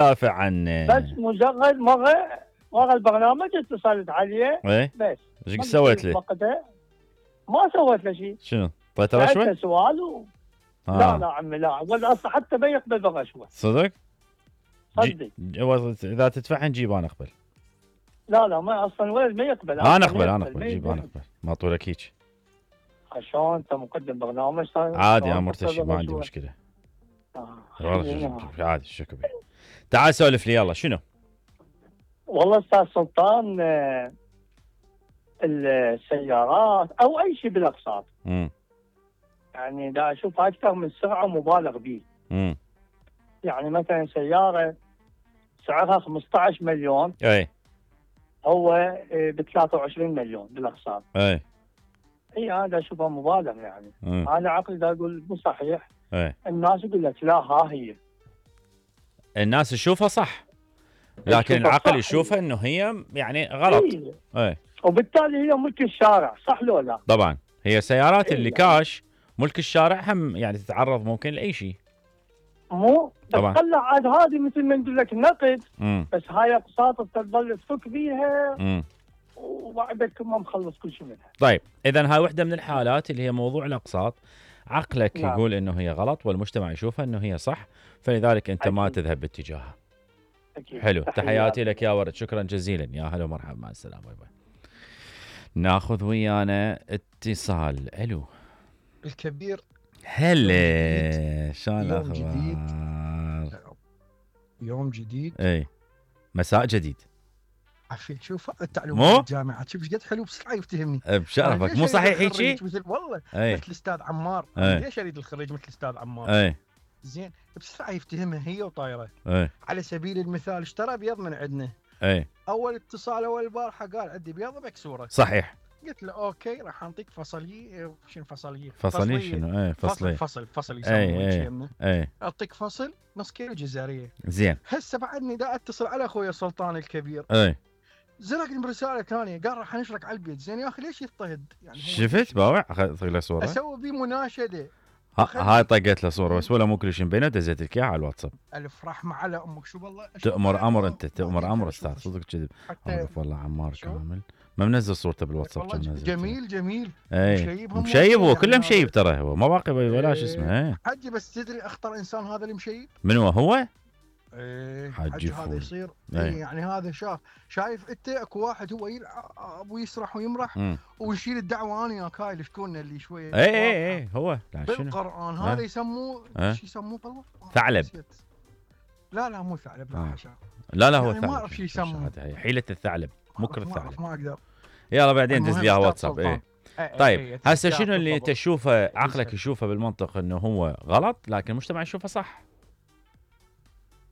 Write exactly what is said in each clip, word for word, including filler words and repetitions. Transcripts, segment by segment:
دافع عن بس مجرد مره مره البرنامج اتصلت عليه ايه بس. ايش سويت له؟ وقتها ما سويت له شيء. شنو؟ طيته رشوه؟ سألته سؤال و... آه. لا لا عمي لا، ولا اصلا حتى ما يقبل بالرشوه. صدق؟ صدق. اذا تدفعها نجيب انا اقبل. لا لا ما اصلا ولد ما يقبل. انا اقبل انا اقبل جيب انا اقبل ما طولك هيك. عشان انت مقدم برنامج عادي انا مرتشي ما عندي مشكله. آه. والله عادي شكو بيه. تعال سولف لي يلا شنو؟ والله استاذ سلطان آه السيارات او اي شيء بالاقساط امم يعني دا اشوف اكثر من سرعه مبالغ به. امم يعني مثلا سياره سعرها خمسة عشر مليون اي هو ب ثلاثة وعشرين مليون بالاقساط. اي اي هذا اشوفها مبالغ يعني. مم. انا عقلي دا اقول مو صحيح. اي الناس يقول لك لا ها هي الناس تشوفها صح لكن العقل يشوفها انه هي يعني غلط. اي اي وبالتالي هي ملك الشارع صح لو لا؟ طبعا هي سيارات إيه اللي يعني. كاش ملك الشارع هم يعني تتعرض ممكن لاي شيء. مو طبعا. تطلع عاد هذه مثل ما نقول لك نقد. امم بس هاي اقساط تظل تفك بيها امم وبعدك ما مخلص كل شيء منها. طيب اذا هاي وحده من الحالات اللي هي موضوع الاقساط عقلك نعم. يقول انه هي غلط والمجتمع يشوفها انه هي صح فلذلك انت ما أكيد. تذهب باتجاهها. أكيد. حلو تحياتي. تحياتي لك يا ورد شكرا جزيلا يا هلا ومرحبا مع السلامه. باي باي. ناخذ ويانا اتصال. الو الكبير. هلا شلون يوم جديد. الاخبار؟ يوم جديد. اي مساء جديد. عفيت شوف التعليم مو؟ الجامعة شوف ايش قد حلو بسرعة يفتهمني. بشرفك مو صحيح هيك مثل والله اي مثل الاستاذ عمار. أي. ليش اريد الخريج مثل الاستاذ عمار؟ اي زين بسرعة يفتهمها هي وطايرة. اي على سبيل المثال اشترى بيض من عندنا. اي اول اتصال اول البارحة قال عندي بيضة مكسورة. صحيح. قلت له اوكي راح اعطيك فصليه. شنو فصليه؟ فصليه شنو؟ اي فصليه فصل فصل اي يسمونه. اي اي اعطيك فصل نص كيلو جزاريه. زين هسه بعدني دا اتصل على اخوي سلطان الكبير. اي زرقني برساله ثانيه قال راح نشرك على البيت. زين يا اخي ليش يضطهد؟ يعني شفت باوع اخذت له صوره اسوي بيه مناشده. هاي طقت له صوره بس ولا مو كل شيء مبينه دزيت لك اياها على الواتساب. الف رحمه على امك شو والله تأمر امر انت تأمر امر استاذ صدق كذب. اوقف والله عمار كامل ما منزل صورته بالواتساب كان نزل جميل جميل. اي مشيب هو كله مشيب ترى هو ما باقي ولا شو اسمه. حجي بس تدري اخطر انسان هذا المشيب من هو هو؟ ايه حجي هذا يصير ايه. ايه يعني هذا شاف شايف انت اكو واحد هو يلعب ويسرح ويمرح م. ويشيل الدعوه انا وياك هاي اللي شكوننا اللي شويه اي اي اي هو لا شنو بالقران هذا يسموه شو يسموه والله ثعلب. لا لا مو ثعلب لا حشا. لا لا هو يعني ثعلب ما اعرف شو يسموه حيله الثعلب مكر ما الثعلب. ما اقدر يلا بعدين دز لي واتساب. ايه ايه طيب ايه هسه شنو اللي تشوفه عقلك يشوفه بالمنطق انه هو غلط لكن المجتمع يشوفه صح؟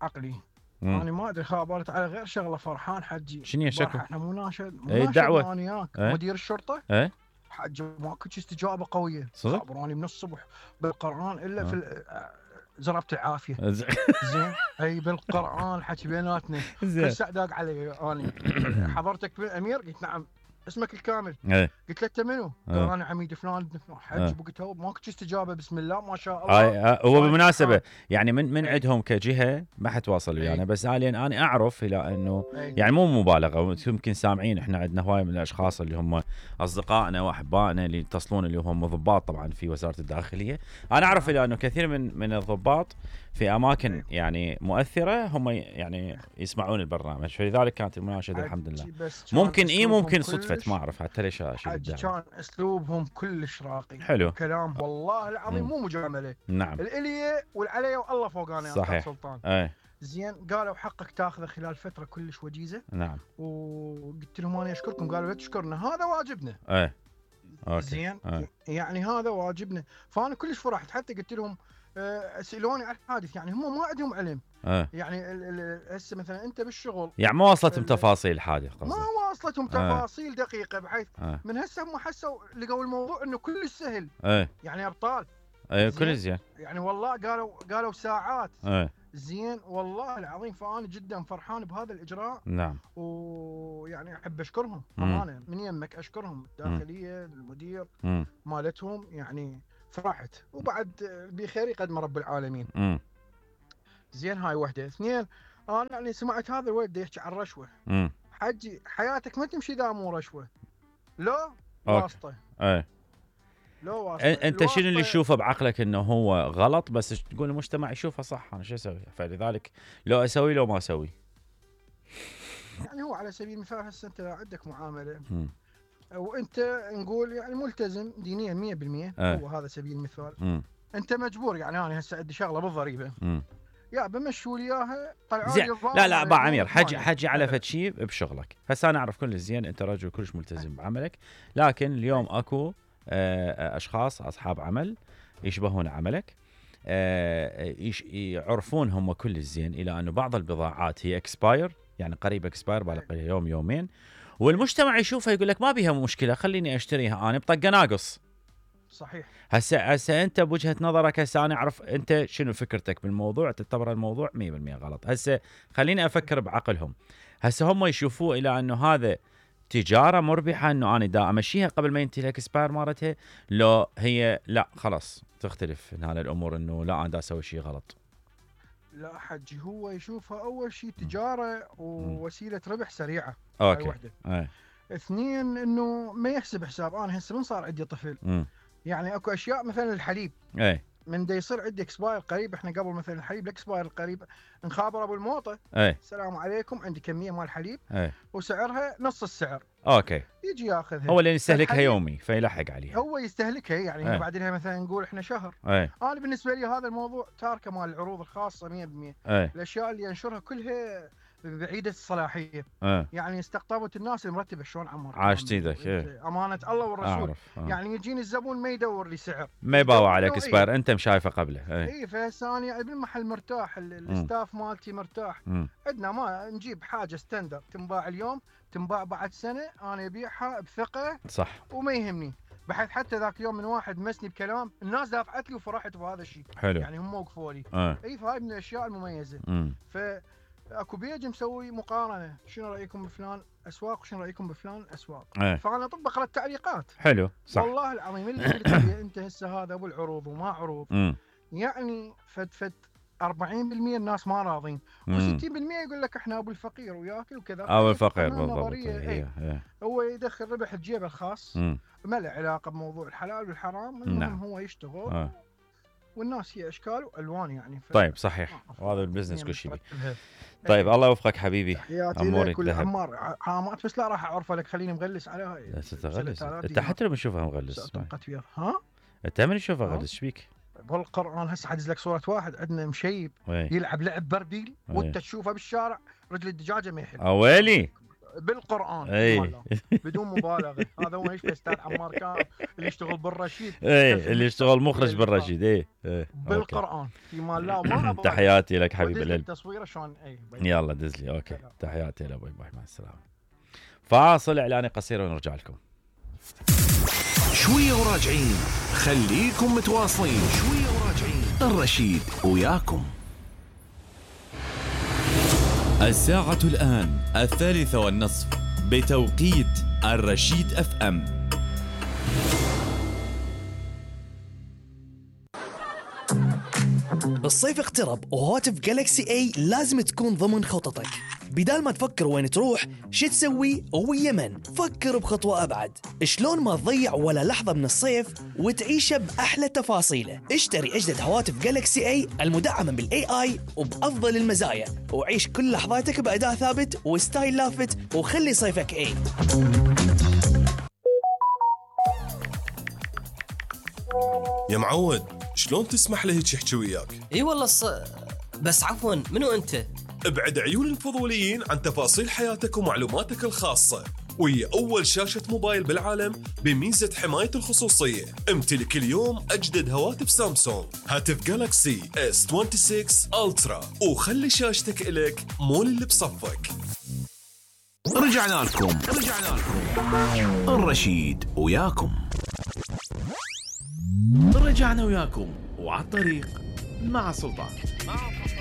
عقلي مم. انا ما ادري خابرت على غير شغله فرحان حجي. شنو يا شكو؟ احنا مناشد ايه الدعوه انا وياك ايه؟ مدير الشرطه ايه حجي ماكو استجابه قويه. صدق؟ خابروني من الصبح بالقران الا اه. في زربت العافيه. زين اي بالقران الحكي بيناتنا. كل ساعه داق علي اني حضرتك بالامير قلت نعم اسمك الكامل. ايه قلت له انت منو؟ قال اه. انا عميد فلان حج اه. بقيت هو ماكو استجابه بسم الله ما شاء الله. هاي هو بالمناسبه يعني من من ايه. عندهم كجهه ما حتواصل ويانا ايه. بس حاليا انا اعرف الى انه ايه. يعني مو مبالغه يمكن سامعين احنا عندنا هواي من الاشخاص اللي هم اصدقائنا واحبائنا اللي يتصلون اللي هم ضباط طبعا في وزاره الداخليه. انا اعرف الى انه كثير من من الضباط في اماكن ايه. يعني مؤثره هم يعني يسمعون البرنامج فلذلك كانت المناشده الحمد لله. بس ممكن اي ممكن كلش- صدفه ما اعرف حتى ليش اشيل حجي الدعوه. كان اسلوبهم كلش راقي. حلو. كلام والله العظيم مم. مو مجامله. نعم الاليه والعليه والله فوقانا يا صحيح. استاذ سلطان. اي زين قالوا حقك تاخذه خلال فتره كلش وجيزه. نعم وقلت لهم انا اشكركم قالوا لا تشكرنا هذا واجبنا. اي اوكي زين أي. يعني هذا واجبنا. فانا كلش فرحت حتى قلت لهم سالوني عن الحادث يعني هم ما عندهم علم. أه. يعني هسه مثلا انت بالشغل يعني ما وصلتهم تفاصيل الحادث قصدك؟ ما واصلتهم تفاصيل أه. دقيقه بحيث أه. من هسه هم حسوا لقوا الموضوع انه كلش سهل. أه. يعني ابطال. اي كل زين يعني والله قالوا قالوا ساعات. أه. زين والله العظيم فانا جدا فرحان بهذا الاجراء. نعم ويعني احب اشكرهم امانه من يمك اشكرهم الداخليه المدير مم. مالتهم يعني فرحت وبعد بخير قدم رب العالمين. مم. زين هاي وحده. اثنين انا يعني سمعت هذا الولد يحكي عن رشوه. امم حجي حياتك ما تمشي اذا مو رشوه. لو واسطه. اي لو واسطه. انت شنو اللي تشوفه بعقلك انه هو غلط بس تقول المجتمع يشوفه صح، انا شو اسوي؟ فلذلك لو اسوي لو ما اسوي. يعني هو على سبيل المثال هسه انت عندك معامله م. وانت نقول يعني ملتزم دينيا مية بالمية. أه. هو هذا سبيل المثال. م. انت مجبور يعني انا هسه عندي شغله بالضريبه م. يا بمشوا لي اياها طلعوا زين. لي لا لا ابا عمير حجي حجي على فد شيء بشغلك. هسه انا اعرف كل زين انت رجل كلش ملتزم بعملك، لكن اليوم اكو اشخاص اصحاب عمل يشبهون عملك، يعرفون هم كل زين الى انه بعض البضاعات هي اكسباير، يعني قريب اكسباير باقي يوم يومين، والمجتمع يشوفها يقول لك ما بيها مشكله خليني اشتريها انا بطقه ناقص. صحيح. هسه هسه انت بوجهه نظرك هسه انا اعرف انت شنو فكرتك بالموضوع، تعتبر الموضوع مية بالمية غلط. هسه خليني افكر بعقلهم. هسه هم يشوفوه الى انه هذا تجاره مربحه، انه انا دا امشيها قبل ما ينتهي الاكسباير مالتها، لو هي لا خلاص تختلف هنا الامور انه لا انا دا اسوي شيء غلط. لا حجي هو يشوفها اول شيء تجاره ووسيله ربح سريعه. اوكي. أي. اثنين انه ما يحسب حساب. انا هسه من صار عندي طفل م. يعني اكو اشياء مثلا الحليب. اي من دا يصير عندي اكسباير قريب، احنا قبل مثلا الحليب الاكسباير القريب نخابر ابو الموطه. اي السلام عليكم عندي كميه مال حليب. اي وسعرها نص السعر. اوكي. يجي ياخذها. هو اللي يستهلكها يومي فيلحق عليها. هو يستهلكها يعني أي. بعدين مثلا نقول احنا شهر. أي. انا بالنسبه لي هذا الموضوع تاركه مال العروض الخاصه مية بالمية. أي. الاشياء اللي ينشرها كلها بعيده الصلاحيه. أه. يعني استقطبت الناس المرتبه. شلون عمر عاشت ايدك. إيه. امانه الله والرسول. أعرف. أه. يعني يجيني الزبون ما يدور لي سعر، ما يباوع عليك اكسباير. انت مشايفه قبله. اي اي فهسه انا بالمحل مرتاح، الستاف مالتي مرتاح. عندنا ما نجيب حاجه ستاندر تنباع اليوم تنباع بعد سنه، انا ابيعها بثقه. صح. وما يهمني بحيث حتى ذاك اليوم من واحد مسني بكلام الناس دافعت لي وفرحت بهذا الشيء. حلو. يعني هم وقفوا لي. أه. اي فهاي من الاشياء المميزه. امم ف اكو بيج مسوي مقارنه، شنو رايكم بفلان اسواق وشنو رايكم بفلان اسواق. أه. فانا اطبق له التعليقات. حلو. صح. والله العظيم اللي قلت لي انت هسه هذا ابو العروض وما عروض. مم. يعني فد فد أربعين بالمية الناس ما راضين وستين بالمية يقول لك احنا ابو الفقير وياكل وكذا. ابو الفقير بالضبط. ايه. ايه. هو يدخل ربح بجيبه الخاص. مم. ما له علاقه بموضوع الحلال والحرام. المهم نعم. هو يشتغل. آه. والناس هي اشكال والوان يعني. ف... طيب صحيح. وهذا البزنس كل شيء. طيب الله يوفقك حبيبي. امورك ذهب. عمار عامات بس لا راح اعرفه لك خليني مغلس على هاي. لا تتغلس انت حتى لما تشوفها مغلس. ها انت من تشوفها غلس ايش بيك؟ بالقرآن هسه حدز لك صورة واحد عندنا مشيب وي. يلعب لعب برديل وانت تشوفه بالشارع رجل الدجاجة ما يحل. اويلي بالقرآن. اي بدون مبالغة. هذا هو يشبه استاذ عمار كان اللي يشتغل بالرشيد. اي اللي يشتغل مخرج بالرشيد. اي بالقرآن في مال لا ما تحياتي لك حبيب القلب. التصوير شلون. اي يلا دز لي. اوكي تحياتي لابوي باي مع السلامة. فاصل اعلاني قصير ونرجع لكم. شوية وراجعين، خليكم متواصلين. شوية وراجعين، الرشيد وياكم. الساعة الآن الثالثة والنصف بتوقيت الرشيد اف ام. الصيف اقترب وهاتف جالكسي اي لازم تكون ضمن خططك. بدال ما تفكر وين تروح شو تسوي ويا من، فكر بخطوة أبعد. شلون ما تضيع ولا لحظة من الصيف وتعيشه بأحلى تفاصيله. اشتري أجدد هواتف جالكسي اي المدعمة بالاي اي وبأفضل المزايا، وعيش كل لحظاتك بأداء ثابت وستايل لافت، وخلي صيفك اي. يا معود شلون تسمح له هيك يحكي وياك؟ اي والله الص... بس عفوا منو انت؟ ابعد عيون الفضوليين عن تفاصيل حياتك ومعلوماتك الخاصة، وهي أول شاشة موبايل بالعالم بميزة حماية الخصوصية. امتلك اليوم أجدد هواتف سامسونج، هاتف جالكسي اس ستة وعشرين ألترا، وخلي شاشتك إلك مول اللي بصفك. رجعنا لكم رجعنا لكم الرشيد وياكم. رجعنا وياكم وعلى الطريق مع سلطان.